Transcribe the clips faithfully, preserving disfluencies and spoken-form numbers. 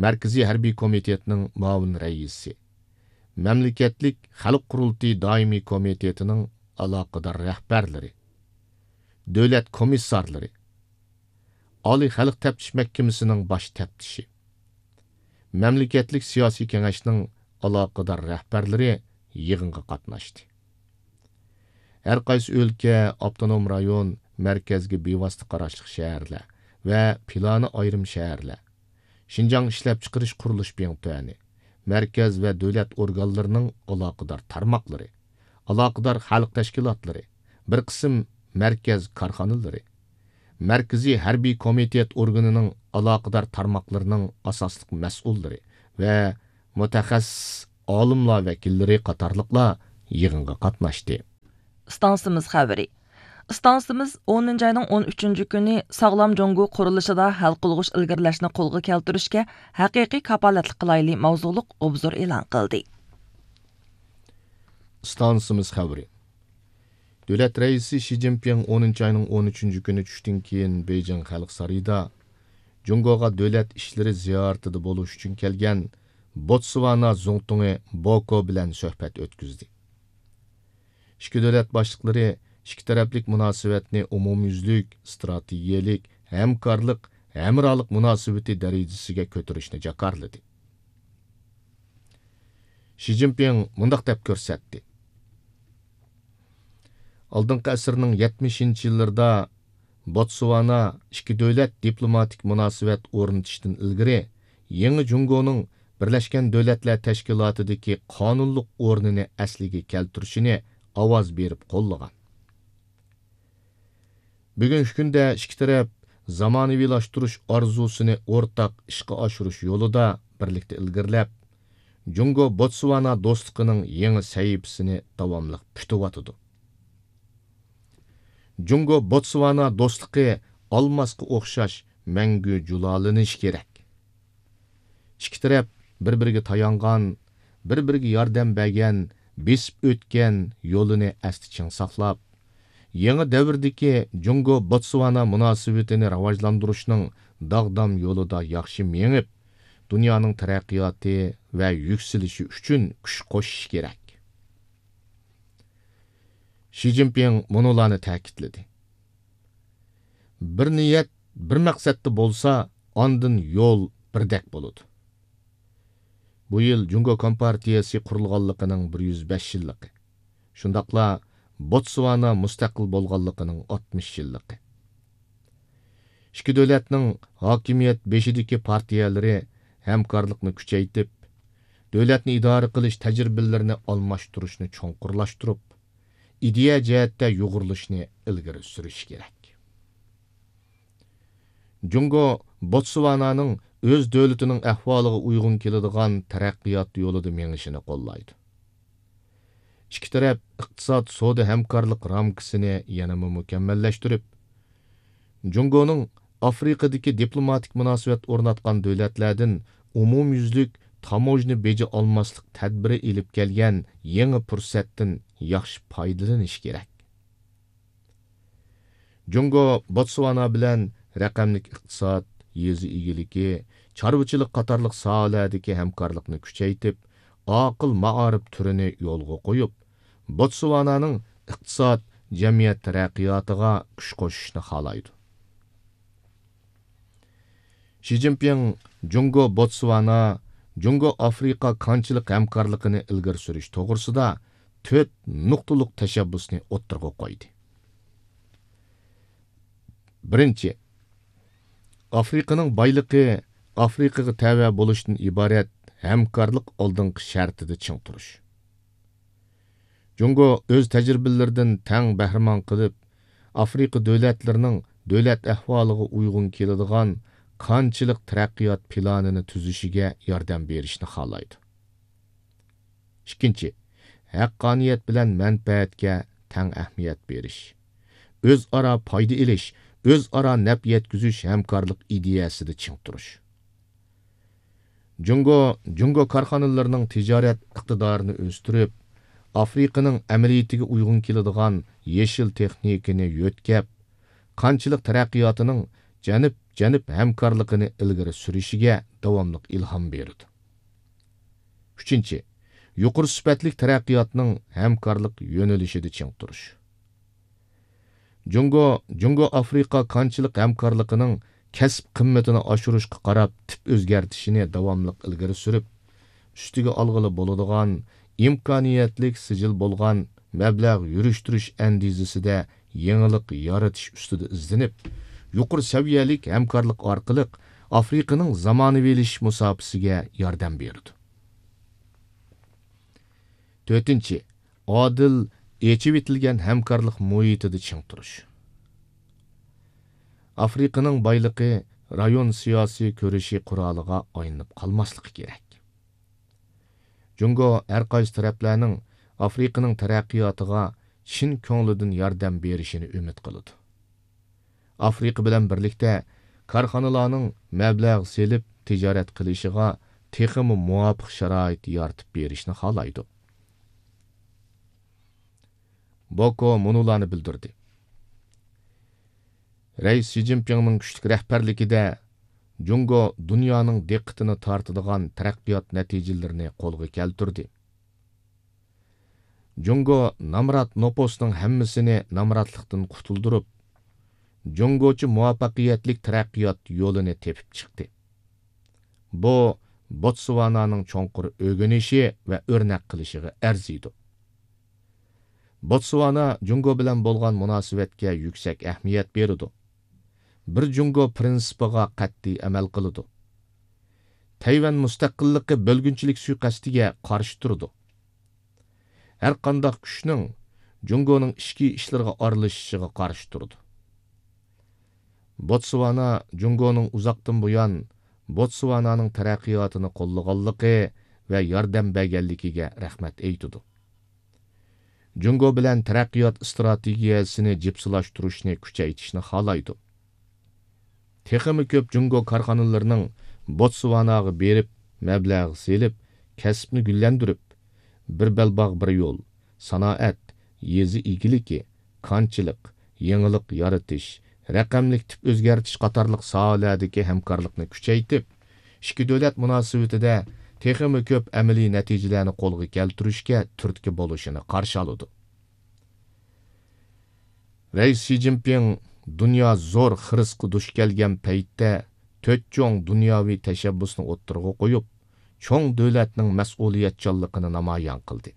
مەركىزىي ھەربىي كومىتېتنىڭ مۇئاۋىن رەئىسى، مەملىكەتلىك خەلق قۇرۇلتىيى دائىمىي كومىتېتىنىڭ ئالاقىدار رەھبەرلىرى، دۆلەت كومىسسارلىرى، ئالىي خەلق تەپتىش مەھكىمىسىنىڭ باش تەپتىشى، مەملىكەتلىك سىياسىي كېڭەشنىڭ ئالاقىدار رەھبەرلىرى يىغىنغا قاتناشتى. ھەر قايسى ئۆلكە، ئاپتونوم رايون، مەركەزگە بىۋاسىتە قاراشلىق شەھەرلەر ۋە پىلانى ئايرىم شەھەرلەر، شىنجاڭ ئىشلەپچىقىرىش قۇرۇلۇش بىڭتۈەنى، مەركەز ۋە دۆلەت ئورگانلىرىنىڭ ئالاقىدار تارماقلىرى، ئالاقىدار خەلق تەشكىلاتلىرى، بىر قىسىم مەركەز كارخانىلىرى، مەركىزىي ھەربىي كومىتېت ئورگىنىنىڭ ئالاقىدار تارماقلىرىنىڭ ئاساسلىق مەسئۇللىرى ۋە مۇتەخەسسىس ئالىملار ۋەكىللىرى قاتارلىقلار يىغىنغا قاتناشتى. ئىستانسىمىز خەۋىرى. ئىستانسىمىز ئونىنچى ئاينىڭ ئون ئۈچىنچى كۈنى ساغلام جۇڭگو قۇرۇلۇشىدا ھەل قىلغۇچ ئىلگىرىلەشنى قولغا كەلتۈرۈشكە ھەقىقىي كاپالەتلىك قىلايلى ماۋزۇلۇق ئوبزور ئېلان قىلدى. ئىستانسىمىز خەۋىرى. دۆلەت رەئىسى شى جىنپىڭ ئونىنچى ئاينىڭ ئون ئۈچىنچى كۈنى چۈشتىن كېيىن بېيجىڭ خەلق سارىيىدا جۇڭگوغا دۆلەت ئىشلىرى زىيارىتىدە بولۇش ئۈچۈن كەلگەن بوتسۋانا زۇڭتۇڭى بوكو بىلەن سۆھبەت ئۆتكۈزدى. ئىككى دۆلەت باشلىقلىرى ئىككى تەرەپلىك مۇناسىۋەتنى ئومۇميۈزلۈك، ئىستراتېگىيەلىك، ھەمكارلىق، ھەمراھلىق مۇناسىۋىتى دەرىجىسىگە كۆتۈرۈشنى جاكارلىدى. شى جىنپىڭ مۇنداق دەپ كۆرسەتتى: ئالدىنقى ئەسىرنىڭ يەتمىشىنچى يىللىرىدا بوتسۋانا ئىككى دۆلەت دىپلوماتىك مۇناسىۋەت ئورنىتىشتىن ئىلگىرى يېڭى جۇڭگونىڭ بىرلەشكەن دۆلەتلەر تەشكىلاتىدىكى قانۇنلۇق ئورنىنى ئەسلىگە كەلتۈرۈشىنى ئاۋاز بېرىپ قوللىغان. بۈگۈنكى كۈندە ئىككى تەرەپ زامانىۋىلاشتۇرۇش ئارزۇسىنى ئورتاق ئىشقا ئاشۇرۇش يولىدا بىرلىكتە ئىلگىرىلەپ، جۇڭگو بوتسۋانا دوستلۇقىنىڭ يېڭى سەھىپىسىنى داۋاملىق پۈتۈۋاتىدۇ. جۇڭگو بوتسۋانا دوستلۇقى ئالماسقا ئوخشاش مەڭگۈ جۇلالىنىشى كېرەك. ئىككى تەرەپ بىر-بىرىگە تايانغان، بىر-بىرىگە ياردەم بەرگەن، بېسىپ ئۆتكەن يولىنى ئەستە چىڭ ساقلاپ، يېڭى دەۋردىكى جۇڭگو بوتسۋانا مۇناسىۋىتىنى راۋاجلاندۇرۇشنىڭ داغدام يولىدا ياخشى مېڭىپ، دۇنيانىڭ تەرەققىياتى ۋە يۈكسىلىشى ئۈچۈن كۈچ قوشۇشى كېرەك. شى جىنپىڭ مۇنۇلارنى تەكىتلىدى: بىر نىيەت، بىر مەقسەتتە بولسا، ئاندىن يول بىردەك بولىدۇ. بۇ يىل جۇڭگو كومپارتىيەسى قۇرۇلغانلىقىنىڭ بىر يۈز بەش يىللىقى، شۇنداقلا بوتسۋانا مۇستەقىل بولغانلىقىنىڭ ئاتمىش يىللىقى. ئىككى دۆلەتنىڭ ھاكىمىيەت بېشىدىكى پارتىيەلىرى ھەمكارلىقنى كۈچەيتىپ، دۆلەتنى ئىدارە قىلىش تەجرىبىلىرىنى ئالماشتۇرۇشنى چوڭقۇرلاشتۇرۇپ، ئىدىيە جەھەتتە يۇغۇرۇلۇشنى ئىلگىرى سۈرۈشى كېرەك. جۇڭگو بوتسۋانانىڭ ئۆز دۆلىتىنىڭ ئەھۋالىغا ئۇيغۇن كېلىدىغان تەرەققىيات يولىدا مېڭىشىنى قوللايدۇ. ئىككى تەرەپ ئىقتىساد سودا ھەمكارلىق رامكىسىنى يەنىمۇ مۇكەممەللەشتۈرۈپ، جۇڭگونىڭ ئافرىقىدىكى دىپلوماتىك مۇناسىۋەت ئورناتقان دۆلەتلەردىن ئومۇميۈزلۈك تاموژنا بېجى ئالماسلىق تەدبىرى ئېلىپ كەلگەن يېڭى پۇرسەتتىن ياخشى پايدىلىنىشى كېرەك. جۇڭگو بوتسۋانا بىلەن رەقەملىك ئىقتىساد، يېزا ئىگىلىكى، چارۋىچىلىق قاتارلىق ساھەلەردىكى ھەمكارلىقنى كۈچەيتىپ، ئاقىل مائارىپ تۈرىنى يولغا قويۇپ، بوتسۋانانىڭ ئىقتىساد، جەمئىيەت تەرەققىياتىغا كۈچ قوشۇشنى خالايدۇ. شى جىنپىڭ جۇڭگو بوتسۋانا، جۇڭگو ئافرىقا كانچىلىق ھەمكارلىقىنى ئىلگىرى سۈرۈش توغرىسىدا تۆت نۇقتىلىق تەشەببۇسنى ئوتتۇرىغا قويدى. بىرىنچى، ئافرىقىنىڭ بايلىقى ئافرىقىغا تەۋە بولۇشتىن ئىبارەت ھەمكارلىق ئالدىنقى شەرتىدە چىڭ تۇرۇش. جۇڭگو ئۆز تەجرىبىلىرىدىن تەڭ بەھرىمەن قىلىپ، ئافرىقا دۆلەتلىرىنىڭ دۆلەت ئەھۋالىغا ئۇيغۇن كېلىدىغان كانچىلىق تەرەققىيات پىلانىنى تۈزۈشىگە ياردەم بېرىشنى خالايدۇ. ئىككىنچى، ھەققانىيەت بىلەن مەنپەئەتكە تەڭ ئەھمىيەت بېرىش، ئۆزئارا پايدا ئېلىش، ئۆزئارا نەپ يەتكۈزۈش ھەمكارلىق ئىدىيەسىدە چىڭ تۇرۇش. جۇڭگو، جۇڭگو كارخانىلىرىنىڭ تىجارەت ئىقتىدارىنى ئۆستۈرۈپ، ئافرىقىنىڭ ئەمەلىيىتىگە ئۇيغۇن كېلىدىغان يېشىل تېخنىكىنى يۆتكەپ، كانچىلىق تەرەققىياتىنىڭ جەنۇب-جەنۇب ھەمكارلىقىنى ئىلگىرى سۈرۈشىگە داۋاملىق ئىلھام بېرىدۇ. ئۈچىنچى، يۇقىرى سۈپەتلىك تەرەققىياتنىڭ ھەمكارلىق يۆنىلىشىدە چىڭ تۇرۇش. جۇڭگو، جۇڭگو ئافرىقا كانچىلىق ھەمكارلىقىنىڭ كەسىپ قىممىتىنى ئاشۇرۇشقا قاراپ تىپ ئۆزگەرتىشىنى داۋاملىق ئىلگىرى سۈرۈپ، ئۈستىگە ئالغىلى بولىدىغان ئىمكانىيەتلىك سىجىل بولغان مەبلەغ يۈرۈشتۈرۈش ئەندىزىسىدە يېڭىلىق يارىتىش ئۈستىدە ئىزدىنىپ، يۇقىرى سەۋىيەلىك ھەمكارلىق ئارقىلىق ئافرىقىنىڭ زامانىۋىلىشىش مۇساپىسىگە ياردەم بېرىدۇ. تۆتىنچى، ئادىل، ئېچىۋېتىلگەن ھەمكارلىق مۇھىتىدا چىڭ تۇرۇش. ئافرىقىنىڭ بايلىقى رايون سىياسىي كۈرىشى قورالىغا ئايلىنىپ قالماسلىقى كېرەك. جۇڭگو ھەر قايسى تەرەپلەرنىڭ ئافرىقىنىڭ تەرەققىياتىغا چىن كۆڭلىدىن ياردەم بېرىشىنى ئۈمىد قىلىدۇ. ئافرىقا بىلەن بىرلىكتە كارخانىلارنىڭ مەبلەغ سېلىپ تىجارەت قىلىشىغا تېخىمۇ مۇۋاپىق شارائىت يارىتىپ بېرىشنى خالايدۇ. بوكو مۇنۇلارنى بىلدۈردى. رەئىس شى جىنپىڭنىڭ كۈچلۈك رەھبەرلىكىدە جۇڭگو دۇنيانىڭ دىققىتىنى تارتىدىغان تەرەققىيات نەتىجىلىرىنى قولغا كەلتۈردى. جۇڭگو نامرات نوپۇسنىڭ ھەممىسىنى نامراتلىقتىن قۇتۇلدۇرۇپ، جۇڭگوچە مۇۋەپپەقىيەتلىك تەرەققىيات يولىنى تېپىپ چىقتى. بۇ بوتسۋانانىڭ چوڭقۇر ئۆگىنىشى ۋە ئۆرنەك قىلىشىغا ئەرزىيدۇ. بوتسۋانا جۇڭگو بىلەن بولغان مۇناسىۋەتكە يۈكسەك ئەھمىيەت بېرىدۇ. بىر جۇڭگو پىرىنسىپىغا قەتئىي ئەمەل قىلىدۇ. تەيۋەن مۇستەقىللىقى بۆلگۈنچىلىك سۇيىقەستىگە قارشى تۇرىدۇ. ھەر قانداق كۈچنىڭ جۇڭگونىڭ ئىچكى ئىشلىرىغا ئارىلىشىشىغا قارشى تۇرىدۇ. بوتسۋانا جۇڭگونىڭ ئۇزاقتىن بۇيان بوتسۋانانىڭ تەرەققىياتىنى قوللىغانلىقى ۋە ياردەم بەرگەنلىكىگە رەھمەت ئېيتىدۇ. جۇڭگو بىلەن تەرەققىيات ئىستراتېگىيەسىنى جىپسىلاشتۇرۇشنى كۈچەيتىشنى خالايدۇ. تېخىمۇ كۆپ جۇڭگو كارخانىلىرىنىڭ بوتسۋاناغا بېرىپ، مەبلەغ سېلىپ، كەسىپنى گۈللەندۈرۈپ، بىر بەلباغ بىر يول، سانائەت، يېزا ئىگىلىكى، كانچىلىق، يېڭىلىق يارىتىش، رەقەملىك تىپ ئۆزگەرتىش قاتارلىق ساھەلەردىكى ھەمكارلىقنى كۈچەيتىپ، ئىككى دۆلەت مۇناسىۋىتىدە تېخىمۇ كۆپ ئەمەلىي نەتىجىلەرنى قولغا كەلتۈرۈشكە تۈرتكە بولۇشىنى قارشى ئالىدۇ. رەئىس شى جىنپىڭ دۇنيا زور خىرىسقا دۇچ كەلگەن پەيتتە تۆت چوڭ دۇنياۋى تەشەببۇسنى ئوتتۇرىغا قويۇپ، چوڭ دۆلەتنىڭ مەسئۇلىيەتچانلىقىنى نامايان قىلدى.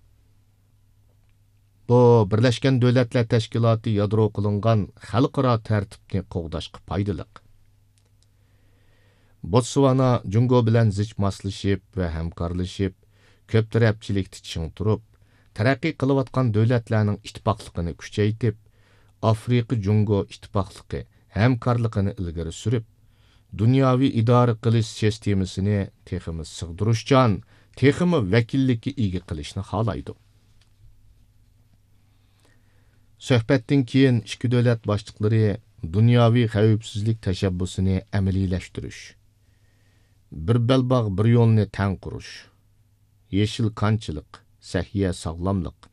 بۇ، بىرلەشكەن دۆلەتلەر تەشكىلاتى يادرو قىلىنغان خەلقئارا تەرتىپنى قوغداشقا پايدىلىق. بوتسۋانا جۇڭگو بىلەن زىچ ماسلىشىپ ۋە ھەمكارلىشىپ، كۆپ تەرەپچىلىكتە چىڭ تۇرۇپ، تەرەققىي قىلىۋاتقان دۆلەتلەرنىڭ ئىتتىپاقلىقىنى كۈچەيتىپ، ئافرىقا جۇڭگو ئىتتىپاقلىقى ھەمكارلىقىنى ئىلگىرى سۈرۈپ، دۇنياۋى ئىدارە قىلىش سىستېمىسىنى تېخىمۇ سىغدۇرۇشچان، تېخىمۇ ۋەكىللىككە ئىگە قىلىشنى خالايدۇ. سۆھبەتتىن كېيىن ئىككى دۆلەت باشلىقلىرى دۇنياۋى خەۋپسىزلىك تەشەببۇسىنى ئەمەلىيلەشتۈرۈش، بىر بەلباغ بىر يولنى تەڭ قۇرۇش، يېشىل كانچىلىق، سەھىيە ساغلاملىق،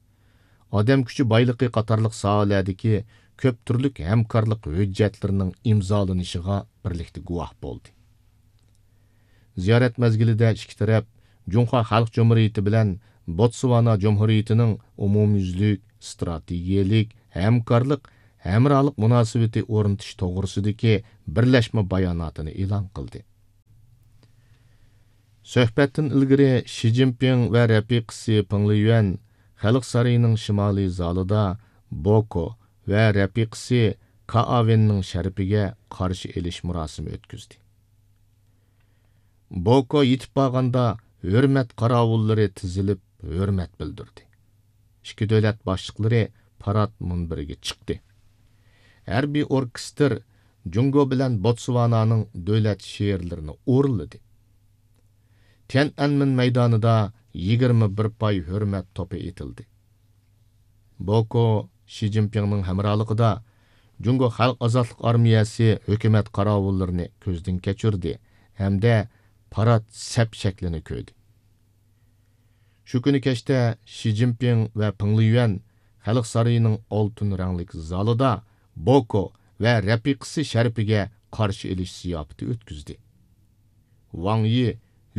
ئادەم كۈچى بايلىقى قاتارلىق ساھەلەردىكى كۆپ تۈرلۈك ھەمكارلىق ھۆججەتلىرىنىڭ ئىمزالىنىشىغا بىرلىكتە گۇۋاھ بولدى. زىيارەت مەزگىلىدە ئىككى تەرەپ جۇڭخۇا خەلق جۇمھۇرىيىتى بىلەن بوتسۋانا جۇمھۇرىيىتىنىڭ ئومۇميۈزلۈك ئىستراتېگىيەلىك ھەمكارلىق، ھەمراھلىق مۇناسىۋىتى ئورنىتىش توغرىسىدىكى بىرلەشمە باياناتىنى ئېلان قىلدى. سۆھبەتتىن ئىلگىرى شى جىنپىڭ ۋە رەپىقىسى پېڭ لىيۈەن خەلق سارىيىنىڭ شىمالىي زالىدا بوكو ۋە رەپىقىسى كائاۋېننىڭ شەرىپىگە قارشى ئېلىش مۇراسىمى ئۆتكۈزدى. بوكو يېتىپ بارغاندا ھۆرمەت قاراۋۇللىرى تىزىلىپ ھۆرمەت بىلدۈردى. ئىككى دۆلەت باشلىقلىرى پارات مۇنبىرىگە چىقتى. ھەربىي ئوركېستىر جۇڭگو بىلەن بوتسۋانانىڭ دۆلەت شېئىرلىرىنى ئورۇنلىدى. تيەنئەنمېن مەيدانىدا يىگىرمە بىر پاي ھۆرمەت توپى ئېتىلدى. بوكو شى جىنپىڭنىڭ ھەمراھلىقىدا جۇڭگو خەلق ئازادلىق ئارمىيەسى ھۆكۈمەت قاراۋۇللىرىنى كۆزدىن كەچۈردى ھەمدە پارات سەپ شەكلىنى كۆردى. شۇ كۈنى كەچتە شى جىنپىڭ ۋە پېڭ لىيۈەن خەلق سارىيىنىڭ ئالتۇن رەڭلىك زالىدا بوكو ۋە رەپىقىسى شەرىپىگە قارشى ئېلىش زىياپىتى ئۆتكۈزدى. ۋاڭ يى